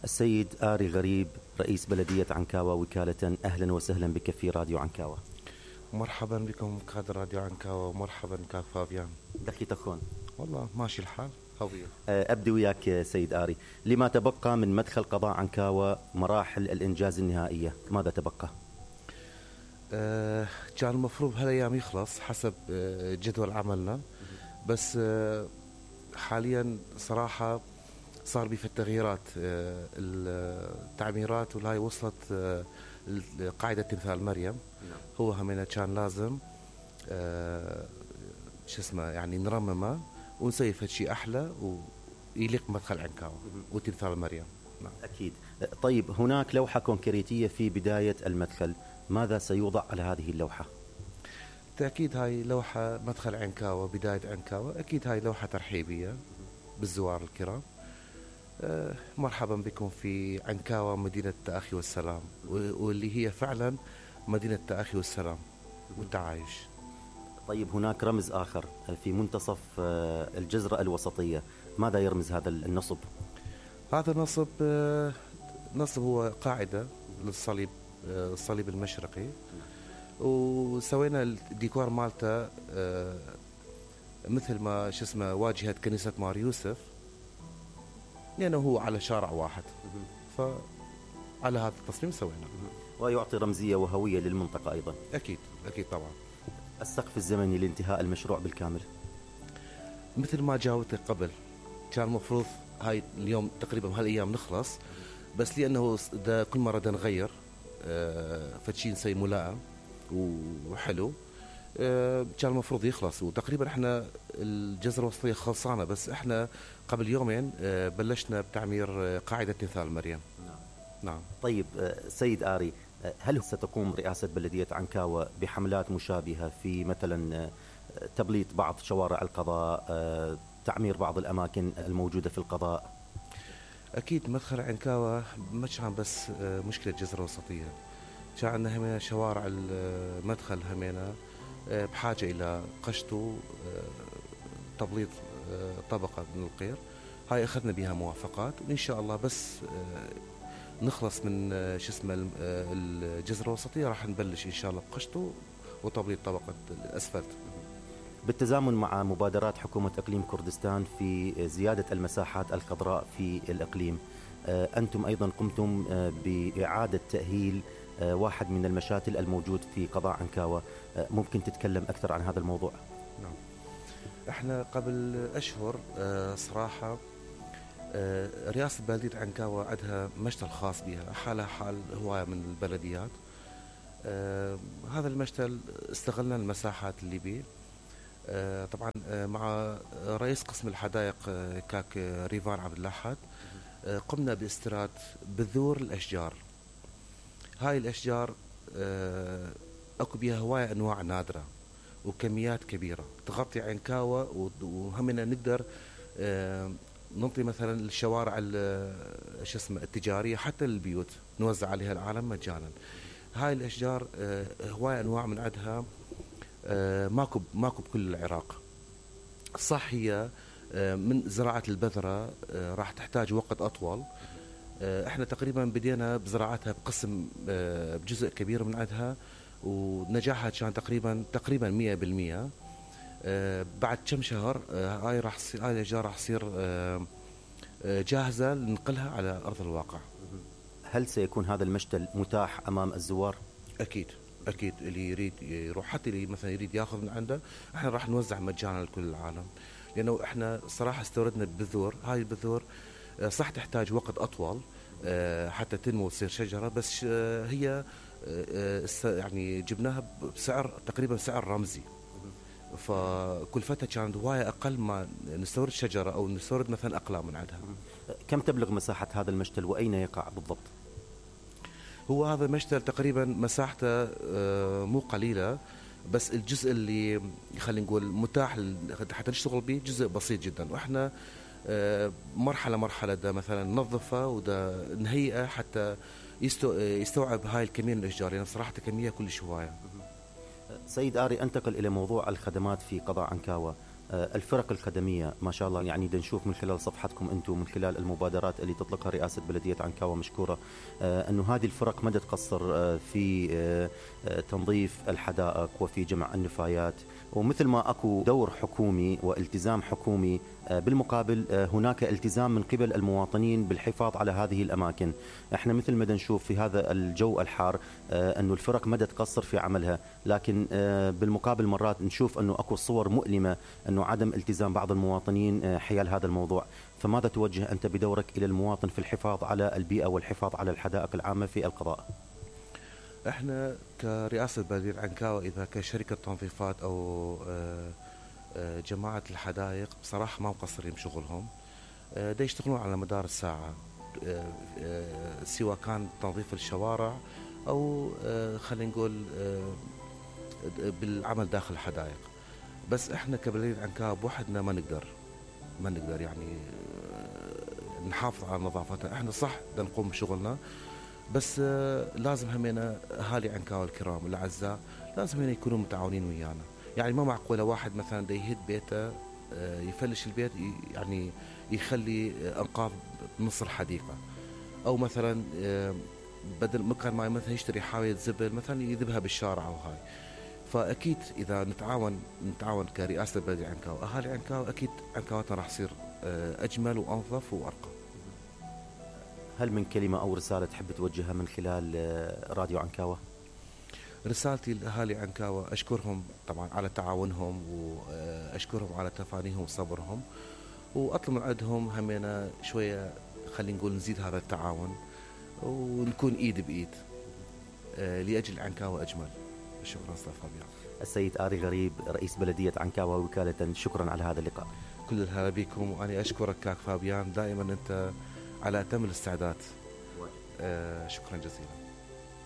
السيد آري غريب رئيس بلدية عنكاوة وكالة، أهلا وسهلا بك في راديو عنكاوة. مرحبا بكم كاد راديو عنكاوة، ومرحبا كاد فابيان. دخي تخون والله ماشي الحال هوية. أبدي وياك سيد آري، لما تبقى من مدخل قضاء عنكاوة مراحل الإنجاز النهائية؟ ماذا تبقى؟ كان المفروض هالأيام يخلص حسب جدول عملنا، بس حاليا صراحة صار في التغييرات، التعميرات والهاي وصلت قاعدة تمثال مريم. هو همينة كان لازم يعني نرممه ونسوي شيء أحلى ويليق مدخل عنكاوة وتمثال مريم. نعم. أكيد. طيب هناك لوحة كونكريتية في بداية المدخل، ماذا سيوضع على هذه اللوحة؟ تأكيد هاي لوحة مدخل عنكاوة، بداية عنكاوة. أكيد هاي لوحة ترحيبية بالزوار الكرام. مرحبا بكم في عنكاوة، مدينة التأخي والسلام، واللي هي فعلا مدينة التأخي والسلام والتعايش. طيب هناك رمز آخر في منتصف الجزرة الوسطية، ماذا يرمز هذا النصب؟ هذا نصب هو قاعدة للصليب، الصليب المشرقي، وسوينا الديكور مالته مثل ما واجهة كنيسة مار يوسف، لأنه هو على شارع واحد، فعلى هذا التصميم سوينا، ويعطي رمزية وهوية للمنطقة أيضا. أكيد طبعا. السقف الزمني لانتهاء المشروع بالكامل؟ مثل ما جاوبتك قبل، كان المفروض هاي اليوم تقريبا هالأيام نخلص، بس لأنه كل مرة نغير فتشي نسوي ملائم وحلو، كان المفروض يخلص. وتقريبا احنا الجزرة الوسطية خلصانة، بس احنا قبل يومين بلشنا بتعمير قاعدة تمثال مريم. نعم. طيب سيد آري، هل ستقوم رئاسة بلدية عنكاوة بحملات مشابهة في مثلا تبليط بعض شوارع القضاء، تعمير بعض الأماكن الموجودة في القضاء؟ أكيد مدخل عنكاوة ما كان بس مشكلة الجزرة الوسطية، كان عندنا همينة شوارع المدخل همينة بحاجة إلى قشط تبليط طبقة من القير. هاي أخذنا بها موافقات، وإن شاء الله بس نخلص من الجزرة الوسطية راح نبلش إن شاء الله بقشطه وتبليط طبقة الأسفلت. بالتزامن مع مبادرات حكومة إقليم كردستان في زيادة المساحات الخضراء في الإقليم، أنتم أيضا قمتم بإعادة تأهيل واحد من المشاتل الموجود في قضاء عنكاوة، ممكن تتكلم أكثر عن هذا الموضوع؟ نعم. احنا قبل أشهر صراحة رئاسة بلدية عنكاوة عندها مشتل خاص بها، حالها حال هواية من البلديات. هذا المشتل استغلنا المساحات اللي بيه، طبعا مع رئيس قسم الحدائق كاك ريفان عبد الأحد قمنا باستيراد بذور الأشجار. هاي الأشجار أكو بها هواية أنواع نادرة وكميات كبيرة تغطي عنكاوة، وهمنا نقدر ننطي مثلا الشوارع التجارية حتى البيوت نوزع عليها العالم مجانا. هاي الأشجار هواية أنواع من عندها ماكو بكل العراق. صح هي من زراعة البذرة راح تحتاج وقت أطول، احنا تقريبا بدينا بزراعتها بقسم بجزء كبير من عندها، ونجاحها كان تقريبا 100%. بعد كم شهر هاي الأشجار راح تصير جاهزة لنقلها على أرض الواقع. هل سيكون هذا المشتل متاح أمام الزوار؟ أكيد اللي يريد يروح، حتى اللي مثلا يريد ياخذ من عنده، احنا راح نوزع مجانا لكل العالم، لأنه احنا صراحة استوردنا بذور. هاي البذور صح تحتاج وقت أطول حتى تنمو وتصير شجرة، بس هي يعني جبناها بسعر تقريبا سعر رمزي، فكلفتها كانت هواية أقل ما نستورد شجرة أو نستورد مثلا أقلام من عندها. كم تبلغ مساحة هذا المشتل وأين يقع بالضبط؟ هو هذا المشتل تقريبا مساحته مو قليلة، بس الجزء اللي خلينا نقول متاح حتى نشتغل به جزء بسيط جدا، وإحنا مرحلة دا مثلا ننظفه ودا نهيئه حتى يستوعب هاي الكمية من الأشجار، يعني صراحة كمية كلش هواية. سيد آري، أنتقل إلى موضوع الخدمات في قضاء عنكاوة. الفرق الخدمية ما شاء الله، يعني نشوف من خلال صفحتكم أنتم، من خلال المبادرات اللي تطلقها رئاسة بلدية عنكاوة مشكورة، أنه هذه الفرق ما تقصر في تنظيف الحدائق وفي جمع النفايات. ومثل ما أكو دور حكومي والتزام حكومي، بالمقابل هناك التزام من قبل المواطنين بالحفاظ على هذه الأماكن. احنا مثل ما نشوف في هذا الجو الحار أنه الفرق ما تقصر في عملها، لكن بالمقابل مرات نشوف أنه أكو صور مؤلمة أنه عدم التزام بعض المواطنين حيال هذا الموضوع. فماذا توجه أنت بدورك إلى المواطن في الحفاظ على البيئة والحفاظ على الحدائق العامة في القضاء؟ احنا كرئاسة بلدية عنكاوة إذا كشركة تنظيفات أو جماعة الحدائق بصراحة ما مقصرين بشغلهم، دا يشتغلون على مدار الساعة، سواء كان تنظيف الشوارع أو خلينا نقول بالعمل داخل الحدائق. بس احنا كبلدية عنكاوة بوحدنا ما نقدر يعني نحافظ على نظافتنا. احنا صح دا نقوم بشغلنا، بس لازم همينا اهالي عنكاوة الكرام الاعزاء لازم همينا يكونوا متعاونين ويانا. يعني ما معقوله واحد مثلا دا يهد بيته يفلش البيت يعني يخلي انقاض بنص الحديقه، او مثلا بدل مكان ما مثلا يشتري حاويه زبل مثلا يذبها بالشارع او هاي. فاكيد اذا نتعاون كرئاسه بلديه عنكاوة اهالي عنكاوة، اكيد عنكاوتنا راح تصير اجمل وانظف وارقى. هل من كلمة أو رسالة تحب توجهها من خلال راديو عنكاوة؟ رسالتي لأهالي عنكاوة أشكرهم طبعا على تعاونهم، وأشكرهم على تفانيهم وصبرهم، وأطلب من عندهم همينا شوية خلينا نقول نزيد هذا التعاون ونكون إيد بإيد لأجل عنكاوة أجمل. شكرا أستاذ فابيان. السيد آري غريب رئيس بلدية عنكاوة وكالة، شكرا على هذا اللقاء. كل الهلا بكم، وأنا أشكرك كاك فابيان، دائما أنت على أتم الاستعداد. شكرا جزيلا.